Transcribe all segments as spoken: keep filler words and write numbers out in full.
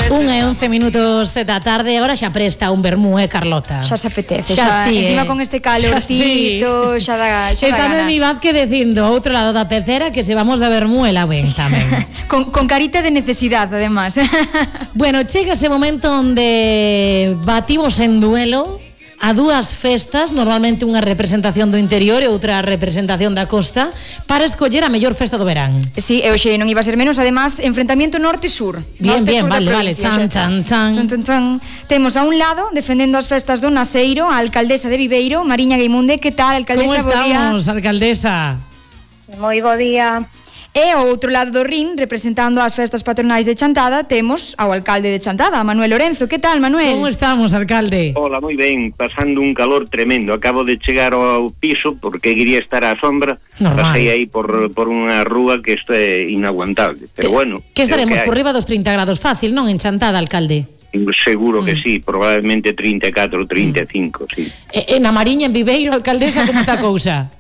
Un e once minutos da tarde, agora xa presta un vermú, eh, Carlota? Xa se apetece, xa, xa, sí, encima eh. con este calorcito, sí. xa da, xa Está da gana. Noemi Vázquez dicindo, outro lado da pecera, que se vamos da vermú e la ven tamén. con, con carita de necesidad, además. Bueno, chega ese momento onde batimos en duelo a dúas festas, normalmente unha representación do interior e outra representación da costa, para escoller a mellor festa do verán. Sí, e hoxe non iba a ser menos, además, enfrentamiento norte-sur. Bien, norte, bien, vale, vale, chan, chan, chan. Chan, chan, chan. Temos a un lado, defendendo as festas do Naseiro, a alcaldesa de Viveiro, Mariña Guimunde. Que tal, alcaldesa? Como estamos, alcaldesa? Moi bo día. E ao outro lado do rin, representando as festas patronais de Chantada, temos ao alcalde de Chantada, Manuel Lorenzo. Que tal, Manuel? Como estamos, alcalde? Hola, moi ben, pasando un calor tremendo. Acabo de chegar ao piso porque quería estar á sombra. Normal. Pasei aí por, por unha rúa que isto é inaguantable. Pero bueno, que estaremos que por riba dos trinta grados fácil, non, en Chantada, alcalde? Seguro que mm. sí, probablemente trinta e catro, trinta e cinco, mm. sí. E, e na Mariña, en Viveiro, alcaldesa, como está a cousa?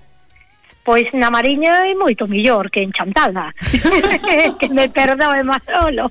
Pois na Mariña é moito millor que en Chantada. Que me perdoe Manolo.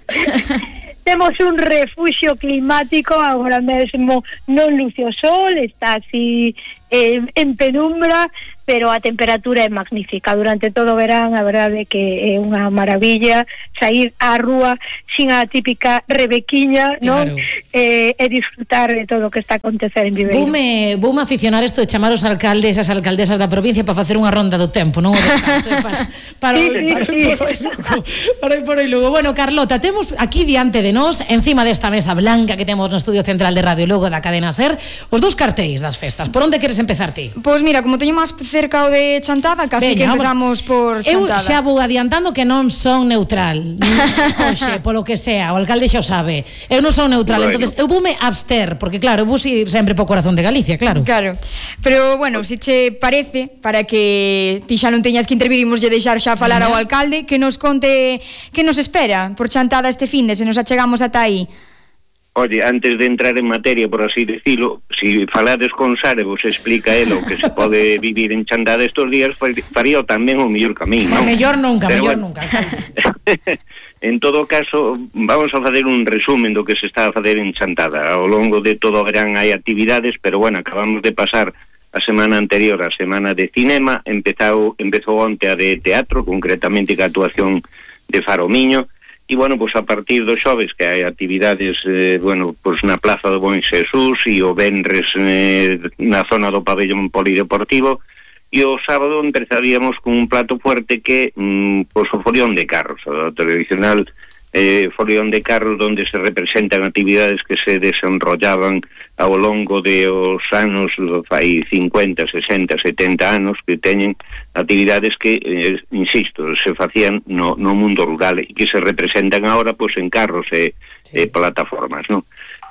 Temos un refuxio climático agora mesmo, non luce o sol, está así eh, en penumbra, pero a temperatura é magnífica durante todo o verán. A verdade é que é unha maravilla sair á rúa sin a típica rebequiña, non? Claro. Eh, e disfrutar de todo o que está a acontecer en Viveiro. Bume, bume aficionar isto de chamar os alcaldes, as alcaldesas da provincia para facer unha ronda do tempo, non? O descanso, para, para, sí, para, sí, para, sí. para, para, para Lugo. Bueno, Carlota, temos aquí diante de nós, encima desta mesa blanca que temos no estudio central de Radio Lugo da cadena SER, os dous cartéis das festas. Por onde queres empezar ti? Pois mira, como teño máis cerca o de Chantada, casi Veña, que empezamos por Chantada. Eu xa vou adiantando que non son neutral. Oxe, polo que sea, o alcalde xa o sabe. Eu non son neutral, Bueno. entonces eu voume abster, porque claro, eu vou ir sempre po corazón de Galicia, claro. Claro, pero bueno, se che parece, para que ti xa non teñas que intervirimos e deixar xa falar Venga. ao alcalde, que nos conte que nos espera por Chantada este finde, se nos achegamos ata aí. Oye, antes de entrar en materia, por así decirlo, si falades con Sara vos explica el o que se pode vivir en Chantada estos días, faría tamén o mellor camiño, O non? mellor nunca, Pero mellor bueno. nunca. En todo caso, vamos a facer un resumen do que se está a facer en Chantada. Ao longo de todo o verán hai actividades, pero bueno, acabamos de pasar a semana anterior, a semana de cinema, empezou, empezou onte a de teatro, concretamente ca actuación de Faro Miño. E, bueno, pois a partir do xoves que hai actividades, eh, bueno, pois na Plaza do Buen Xesús e o venres eh, na zona do pabellón polideportivo, e o sábado empezaríamos con un plato fuerte que, mm, pois o folión de carros, o tradicional eh, folión de carros onde se representan actividades que se desenrollaban ao longo de os anos, fai cincuenta, sesenta, setenta anos, que teñen actividades que, eh, insisto, se facían no, no mundo rural e que se representan agora pois, en carros e, sí. e plataformas, non?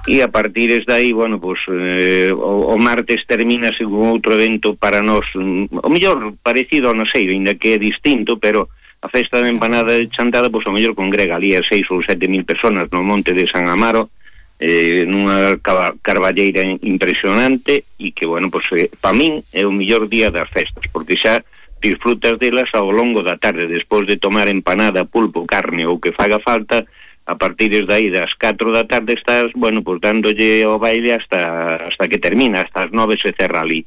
E a partir de aí, bueno, pois, eh, o, o martes termínase con outro evento para nós, o mellor parecido ao Naseiro, ainda que é distinto, pero a festa de empanada de Chantada, pois, o mellor congrega ali a seis ou sete mil personas no monte de San Amaro, eh, nunha carballeira impresionante, e que, bueno, pois, eh, pa min é o mellor día das festas, porque xa disfrutas delas ao longo da tarde, despois de tomar empanada, pulpo, carne ou que faga falta. A partir de aí das catro da tarde estás, bueno, pois dándolle ao baile hasta hasta que termina, hasta as nove se cerra ali.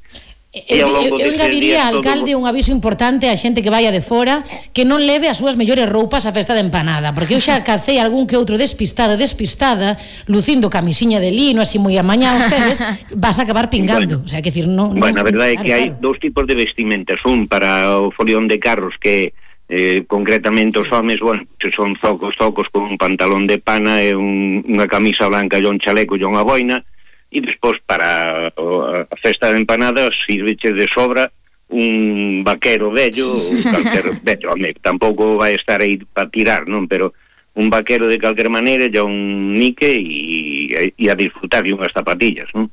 Eu, eu, eu engadiría, alcalde, todo... un aviso importante a xente que vaya de fora, que non leve as súas mellores roupas á festa de empanada, porque eu xa cacei algún que outro despistado, despistada, lucindo camisiña de lino, así moi amañado, sabes, vas a acabar pingando. Bueno, o sea, que decir, no, no, bueno, a verdade é claro, que hai claro. dous tipos de vestimentas, un para o folión de carros que eh, concretamente os homes, bueno, que son zocos, zocos con un pantalón de pana e un, unha camisa blanca e un chaleco e unha boina, e despois para a festa de empanadas sirveche de sobra un vaquero vello, sí. calquer vello, home, tampouco vai estar aí para tirar, non? Pero un vaquero de calquer maneira, ya un nique e, e a disfrutar de unhas zapatillas, non?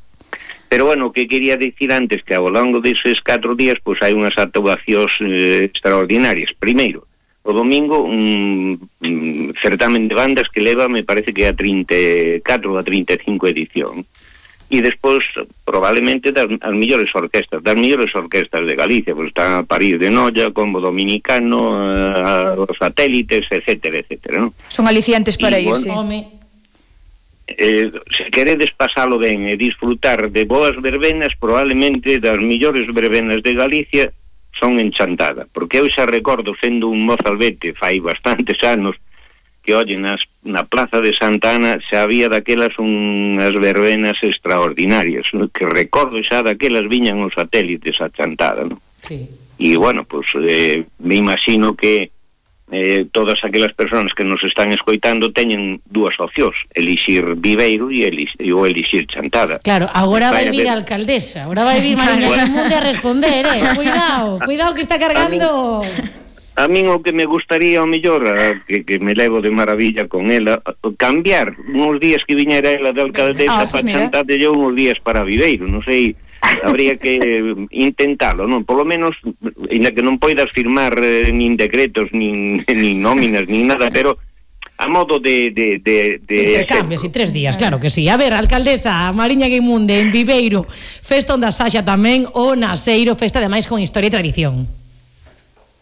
Pero bueno, o que quería dicir antes, que ao longo deses catro días pois hai unhas actuacións eh, extraordinarias. Primeiro, o domingo un, un certamen de bandas que leva, me parece que a trinta e catro ou a trinta e cinco edición. E despois, probablemente, das as mellores orquestas, das mellores orquestas de Galicia, pois está París de Noia, Combo Dominicano, a, a, os satélites, etcétera, etcétera, non? Son aliciantes para irse. E, bueno, Home. eh, se queredes pasalo ben e disfrutar de boas verbenas, probablemente das millores verbenas de Galicia son en Chantada, porque eu xa recordo, sendo un mozalbete fai bastantes anos, que, oye, nas, na plaza de Santa Ana xa había daquelas unhas verbenas extraordinarias, ¿no? Que recordo xa daquelas viñan os satélites a Chantada, ¿no? Sí. E, bueno, pues eh, me imagino que eh, todas aquelas persoas que nos están escoitando teñen dúas opcións, elixir Viveiro e elixir, ou elixir Chantada. Claro, agora vai vir ver... a alcaldesa, agora vai vir Mariña Guimunde a responder, eh? Cuidado, cuidado que está cargando... A min o que me gustaría, ao mellor, a, que, que me levo de maravilla con ela, cambiar uns días que viñera ela de alcaldesa ah, pues para Chantada e uns días para Viveiro, non sei, habría que intentalo, non? Por lo menos, ainda que non poidas firmar eh, nin decretos, nin, nin nóminas, nin nada, pero a modo de... de, de, de intercambios e tres días, claro que sí. A ver, alcaldesa Mariña Guimunde en Viveiro, festa onde Saxa tamén, o Naseiro, festa ademais con historia e tradición.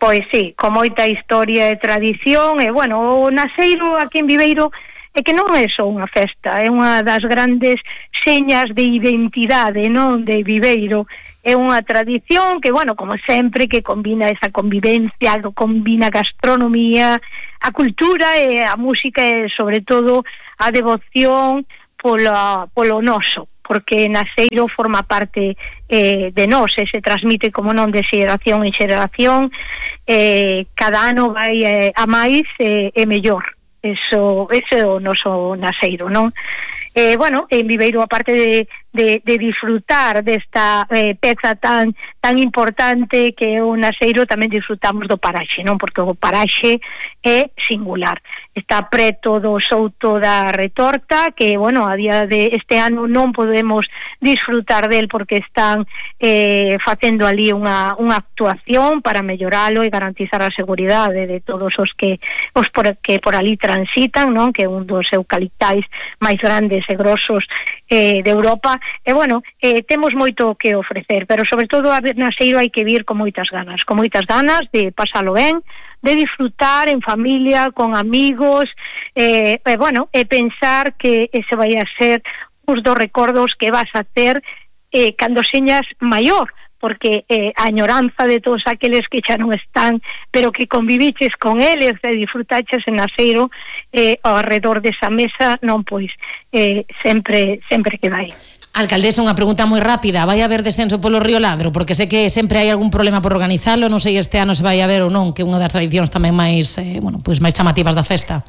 Pois sí, con moita historia e tradición, e bueno, o Naseiro aquí en Viveiro é que non é só unha festa, é unha das grandes señas de identidade, non, de Viveiro. É unha tradición que, bueno, como sempre, que combina esa convivencia, que combina a gastronomía, a cultura e a música e, sobre todo, a devoción polo, polo noso, porque Naseiro forma parte eh, de nós e se transmite, como non, de xeración en xeración, eh, cada ano vai eh, a máis e eh, mellor. Eso, ese é o noso Naseiro, non? Eh, bueno, en Viveiro, aparte de, de, de disfrutar desta eh, peza tan tan importante que é o Naseiro, tamén disfrutamos do paraxe, non? Porque o paraxe é singular. Está preto do Souto da Retorta, que, bueno, a día de este ano non podemos disfrutar del porque están eh, facendo ali unha, unha actuación para melloralo e garantizar a seguridade de todos os que os por, que por ali transitan, non? Que é un dos eucaliptais máis grandes e grosos eh, de Europa. E, bueno, eh, temos moito que ofrecer, pero sobre todo a Naseiro hai que vir con moitas ganas, con moitas ganas de pasalo ben, de disfrutar en familia, con amigos, eh, e, bueno, e pensar que ese vai a ser uns dos recordos que vas a ter eh, cando señas maior, porque eh, a añoranza de todos aqueles que xa non están, pero que conviviches con eles e disfrutaches en Naseiro eh, ao redor desa mesa, non, pois eh, sempre sempre que vai. Alcaldesa, unha pregunta moi rápida. Vai haber descenso polo Río Ladro? Porque sé que sempre hai algún problema por organizalo, non sei este ano se vai haber ou non, que é unha das tradicións tamén máis, eh, bueno, pois máis chamativas da festa.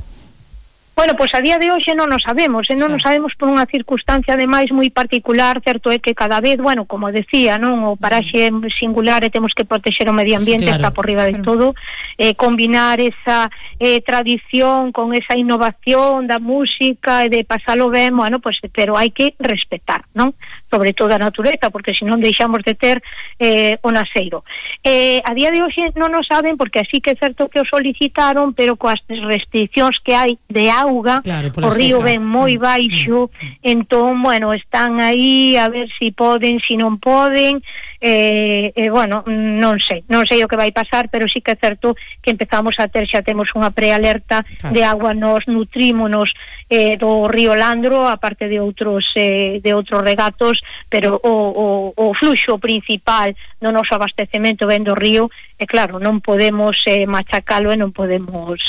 Bueno, pois a día de hoxe non o sabemos, e non o sabemos por unha circunstancia ademais moi particular. Certo é que cada vez, bueno, como decía, non, o paraxe é singular e temos que protexer o medio ambiente, sí, claro, está por riba de todo, eh, combinar esa eh, tradición con esa innovación da música e de pasalo ben, bueno, pues, pero hai que respetar, non? Sobre todo a natureza, porque senón deixamos de ter eh, o Naseiro. Eh, a día de hoxe non o saben, porque así que é certo que o solicitaron, pero coas restriccións que hai de auga, claro, o río seca. Ven moi baixo, mm. entón, bueno, están aí a ver si poden, si non poden, eh, eh, bueno, non sei, non sei o que vai pasar, pero sí que é certo que empezamos a ter, xa temos unha prealerta, claro, de agua, nos nutrímonos eh, do río Landro, aparte de outros eh, de outros regatos, pero o, o, o fluxo principal do noso abastecemento ven do río, e claro, non podemos eh, machacalo e non podemos,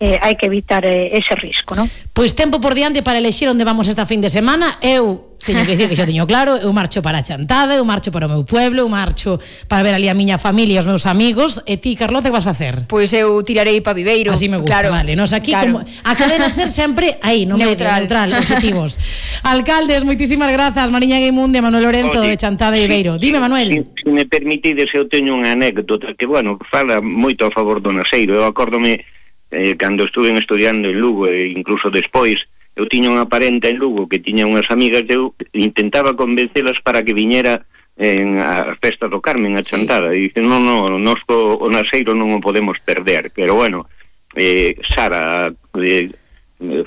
eh, hai que evitar eh, ese risco, non? Pois tempo por diante para elexir onde vamos esta fin de semana. Eu teño que dicir que xa teño claro, eu marcho para a Chantada, eu marcho para o meu pueblo, eu marcho para ver ali a miña familia e os meus amigos. E ti, Carlota, que vas facer? Pois eu tirarei pa Viveiro. Así me gusta, claro, vale. Nos aquí, claro, como a cadena ser sempre aí, no neutral, medio, neutral, objetivos. Alcaldes, moitísimas grazas, Mariña Guimunde, Manuel Lorenzo, oh, sí, de Chantada e Viveiro. Sí, dime, Manuel. Si, si me permitides, eu teño unha anécdota que, bueno, fala moito a favor do Naseiro. Eu acórdome eh, cando estuve estudiando en Lugo e incluso despois, eu tiña unha parenta en Lugo que tiña unhas amigas, eu intentaba convencelas para que viñera en a festa do Carmen, a Chantada, sí, e dice, non, non, nos o, o Naseiro non o podemos perder, pero bueno, eh, Sara, eh,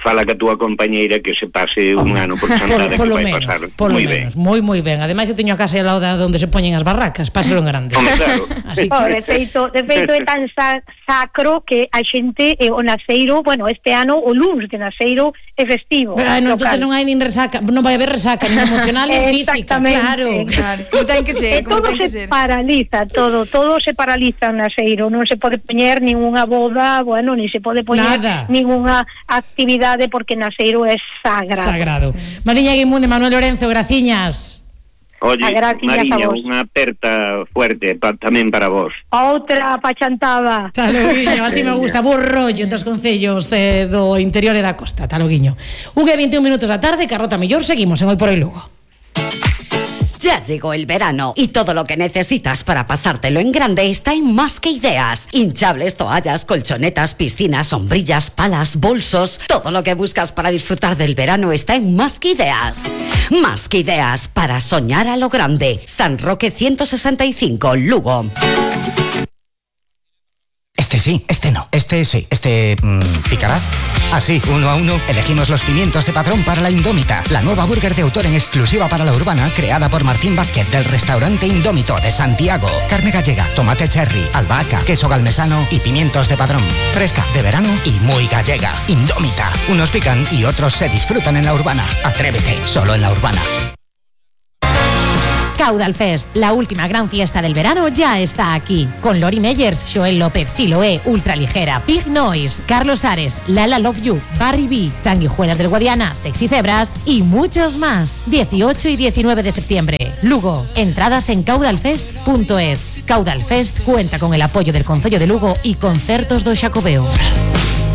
fala que a túa compañeira que se pase un ano por Chantada, por, por que vai menos, pasar por moi menos, ben. moi moi ben. Ademais eu teño a casa ao lado onde se poñen as barracas, páselo en grande. Home, claro. Así Oh, que... de feito, de feito é tan sa sacro que a xente eh, o naceiro, bueno, este ano o luns de naceiro é festivo. Ah, non, local. entonces non hai nin resaca, non vai haber resaca, nin emocional, nin física, claro. Claro, como ten que ser, E como todo ten que se ser. paraliza, todo, todo se paraliza en naceiro, non se pode poñer ninguna boda, bueno, ni se pode poñer Nada. ninguna actividade porque naceiro é sagrado. Sagrado. Mariña Guimunde, Manuel Lorenzo, graciñas. Oye, A graciñas a Mariña, vos. unha aperta fuerte pa, tamén para vos. Outra pa Chantada. Taloguiño, así me gusta, bo rollo entre os concellos eh, do interior e da costa, Taloguiño. Un e veintiún minutos da tarde, Carrota Millor, seguimos en Hoy por Hoy Lugo. Ya llegó el verano y todo lo que necesitas para pasártelo en grande está en Más que Ideas. Hinchables, toallas, colchonetas, piscinas, sombrillas, palas, bolsos. Todo lo que buscas para disfrutar del verano está en Más que Ideas. Más que Ideas para soñar a lo grande. San Roque ciento sesenta y cinco, Lugo. Este sí, este no, este sí, este... Mmm, ¿picará? Así, uno a uno, elegimos los pimientos de Padrón para la Indómita, la nueva burger de autor en exclusiva para la urbana, creada por Martín Vázquez del restaurante Indómito de Santiago. Carne gallega, tomate cherry, albahaca, queso galmesano y pimientos de Padrón. Fresca, de verano y muy gallega. Indómita. Unos pican y otros se disfrutan en la urbana. Atrévete, solo en la urbana. Caudal Fest, la última gran fiesta del verano, ya está aquí. Con Lori Meyers, Joel López, Siloé, Ultraligera, Big Noise, Carlos Ares, Lala Love You, Barry B, Sanguijuelas del Guadiana, Sexy Zebras y muchos más. dieciocho y diecinueve de septiembre. Lugo. Entradas en caudalfest punto es. Caudal Fest cuenta con el apoyo del Concello de Lugo y Concertos do Xacobeo.